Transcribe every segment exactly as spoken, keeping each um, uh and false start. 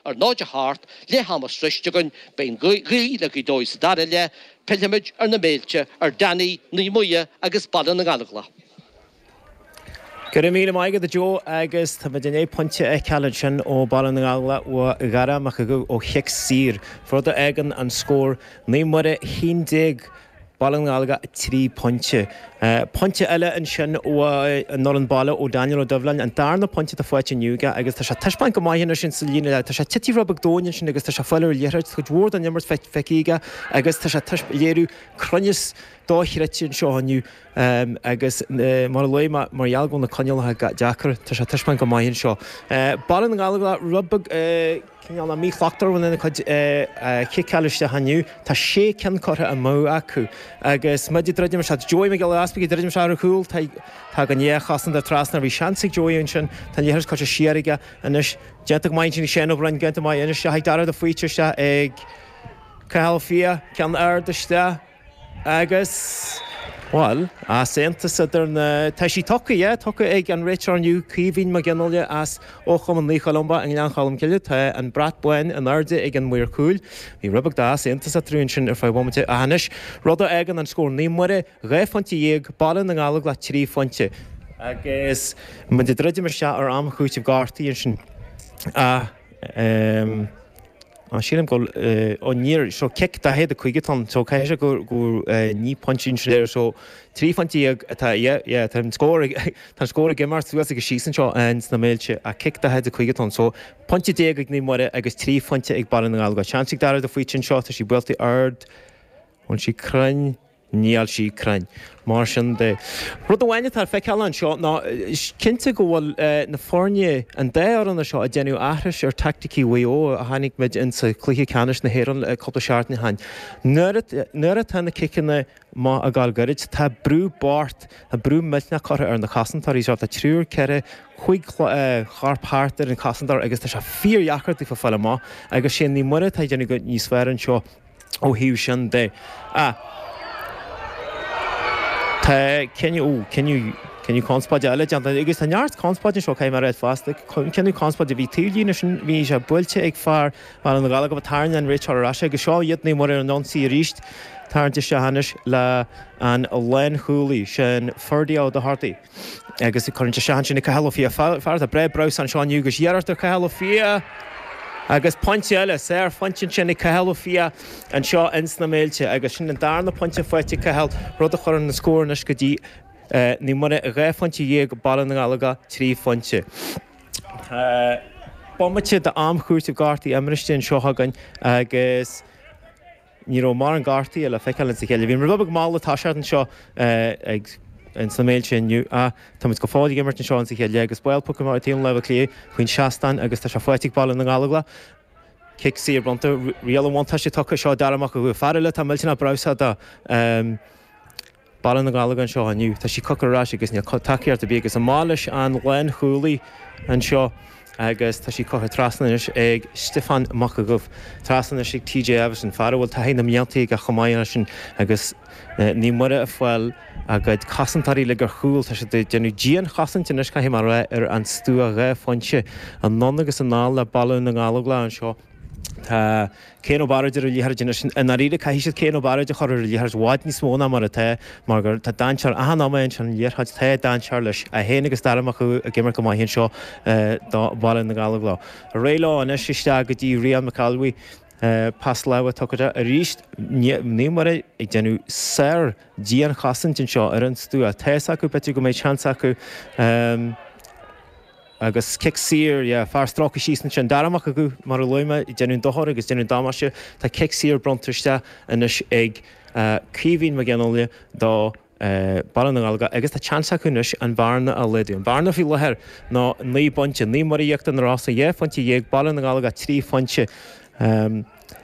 ar náid a hocht, leath ama sroichte againn, beidh an ghaoth le Gaoth Dobhair sa dara leath, pillfimid ar na Méilte, ar Danny, Naomh Muire agus Baile na nGallóglach. Go raibh míle maith agat a Joe agus tá muid i ndiaidh pointe a fheiceáil ansin ó Baile na nGallóglach ó Dhara Mac Aodha ó chic saor, rud a fhágann an scór Naomh Muire a haon déag Baile na nGallóglach trí pointe. Pointe eile ansin ó an fhoireann baile ó Daniel Ó Doibhlin, an darna pointe atá faighte inniu aige agus tá sé ag taispeáint go maith anois sa líne leath. Tá sé tite rud beag domhain ansin agus tá sé ag fáil ar an liathróid, cuid mhór den imirt feicthe aige agus tá sé ag léiriú cruinneas dochreidte anseo inniu agus mar a luaigh mé, mar gheall go bhfuil na coinníollacha deacair, tá sé ag taispeáint go maith anseo. Baile na nGallóglach rud beag cineál míshlachtmhar lena cuid ciceáil isteach inniu. Tá sé ceann curtha amú acu agus muid ag druidim isteach. Joey Mac Giolla Easpaig ag druidim isteach ar an chúl. Tagann dhá chosantóir trasna. Bhí seans ag Joey ansin. Tá an liathróid curtha siar aige anois. Déanta go maith ansin ag Shane Ó Broin. Déanta maith anois isteach ag Dara de Faoite isteach ag Cathal Ó Fiaich. Ceann ard isteach agus, bhuel, easaontas idir na, tá sí tugtha, yeah, tugtha ag an réiteoir inniu, Caoimhín Mac Fhionnghaile as ó Chumann Naomh Columba i nGleann Cholm Cille. Tá an brat bán in airde ag an maor cúil. Bhí rud beag d'easaontas eatarthu ansin ar feadh bomaite. Ach anois, rud a fhágann an scór Naomh Muire dhá phointe dhéag, Baile na nGallóglach trí phointe. Agus muid ag druidim isteach ar am chúitimh gortaithe ansin. Ach, ehm. Á, sílim go bhfuil, ó níor, so cic daichead a cúig atá ann, so caithfidh sé go, go naoi bpointe ansin air, so trí phointe dhéag atá, yeah, yeah, tá an scór ag, tá an scór ag imeacht suas agus síos anseo sna Méilte ach cic daichead a cúig atá ann, so pointe déag ag Naomh Muire agus trí phointe ag Baile na nGallóglach. Seans ag Dara de Faoite anseo, tá sí buailte ard, bhfuil sí cruinn? Níl sí cruinn. Mar sin de, rud amháin atá le feiceáil anseo ná cinnte go bhfuil na foirne, an dá fhoireann seo ag déanamh aithris ar taicticí Mhaigh Eo a chonaic muid insa chluiche ceannais na hÉireann cúpla seachtain ó shin. Nuair atá na ciceanna maith ag gabháil gairid, tá brú bocht, tá brú millteanach curtha ar na cosantóirí seo. Tá triúr, ceithre, cúig chorp thart ar an chosantóir agus tá sé fíordheacair daofa fáil amach agus sé Naomh Muire atá ag déanamh níos fearr anseo. Ó thaobh sin de, tá cinneadh, ó, cinneadh, cinneadh conspóide eile déanta, agus tá neart conspóide anseo, caithfidh mé a rá fosta, cinneadh conspóide, bhí taobh líne sin, bhí sé buailte ag fear Bhaile na nGallóglach, tharraing an réiteoir ar ais é, agus seo iad Naomh Muire ar an ionsaí arís, tarraingt isteach anois le an lánchúlaí, sin Ferdia Ó Dochartaigh. Agus cuireann sé isteach ansin ag Cathal Ó Fiaich, fear atá breá breabhsánach anseo inniu agus iarracht ar Cathal Ó Fiaich agus pointe eile, sárphointe ansin ag Cathal Ó Fiaich anseo ins na Méilte agus sin an darna pointe faighte ag Cathal, rud a chuireann an scór anois go dtí Naomh Muire dhá phointe dhéag, Baile na nGallóglach trí phointe. Tá bomaite d'am chúitimh gortaithe iomráite anseo againn agus. Ní raibh mórán gortaithe le feiceáil insa chéile. Bhí rud beag mall ag toiseacht anseo ag ins na Méilte inniu ach tá muid go fóill ag imirt anseo insa chéile agus buail poc amach ar taobh na láimhe clé faoin seastán agus tá sé faighte ag Baile na nGallóglach. Cic saor bronnta, riail an bhuntáiste tugtha seo Dara Mac Aodha, fear eile atá millteanach breabhsánach do. Baile na nGallóglach anseo inniu. Tá sí curtha ar ais agus níl tacaíocht ar bith agus amach leis an lánchúlaí anseo agus tá sí curtha trasna anois ag Stiofán Mac Aodha. Trasna anois ag TJ Everson, fear a bhfuil taithí na mblianta aige chomh maith leis sin agus Naomh Muire ag fáil a gcuid cosantóirí uilig ar chúl. Tá siad ag déanamh dianchosaint anois caithfidh mé a rá ar an stua dhá phointe anonn agus anall le Baile na nGallóglach anseo. Tá Cian Ó Bairéid ar an liathróid anois. I ndáiríre, caithfidh siad Cian Ó Bairéid a chur ar an liathróid i bhfad níos mó ná mar atá, mar gur tá dainséar achan nóiméad ansin an liathróid, tá dainséar leis. É féin agus Dara Mac Aodha ag imirt go maith anseo do Bhaile na nGallóglach. Ar aghaidh leo anois isteach go dtí Rian McAlwee. Pas láimhe tugtha arís. Naomh Muire ag déanamh sár dianchosaint anseo ar an stua. Tá's acu, b'fhéidir go mbeidh seans acu. Agus cic saor, yeah, fear stróicthe síos ansin. Dara Mac Aodha, mar a luaigh mé, ag déanamh dochair agus déanamh damáiste. Tá cic saor bronnta isteach anois ag Caoimhín Mac Fhionnghaile do Baile na nGallóglach agus tá seans acu anois an bhearna a laghdú. An bhearna faoi láthair ná naoi bpointe. Naomh Muire Íochtar na Rosa dhá phointe dhéag, Baile na nGallóglach trí phointe.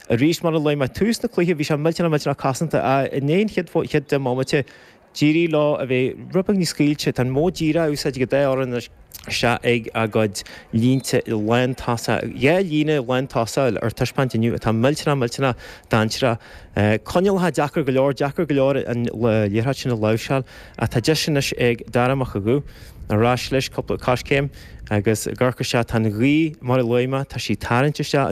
Arís, mar a luaigh mé, tús na cluiche bhí sé millteanach millteanach cosanta. I ndiaidh an chéad chéad deich mbomaite, D'éirigh leo a bheith rud beag níos scaoilte. Tá an modh díreach á úsáid ag an dá fhoireann anois isteach ag a gcuid línte lántosach. Dhá líne lántosach ar taispeáint inniu atá millteanach, millteanach dainséarach. Coinníollacha deacair go leor, deacair go leor an liathróid sin a láimhseáil ach tá deis anois ag Dara Mac Aodha ar ais leis cúpla coiscéim agus ag amharc isteach. Tá an ghaoth, mar a luaigh mé, tá sí ag tarraingt isteach.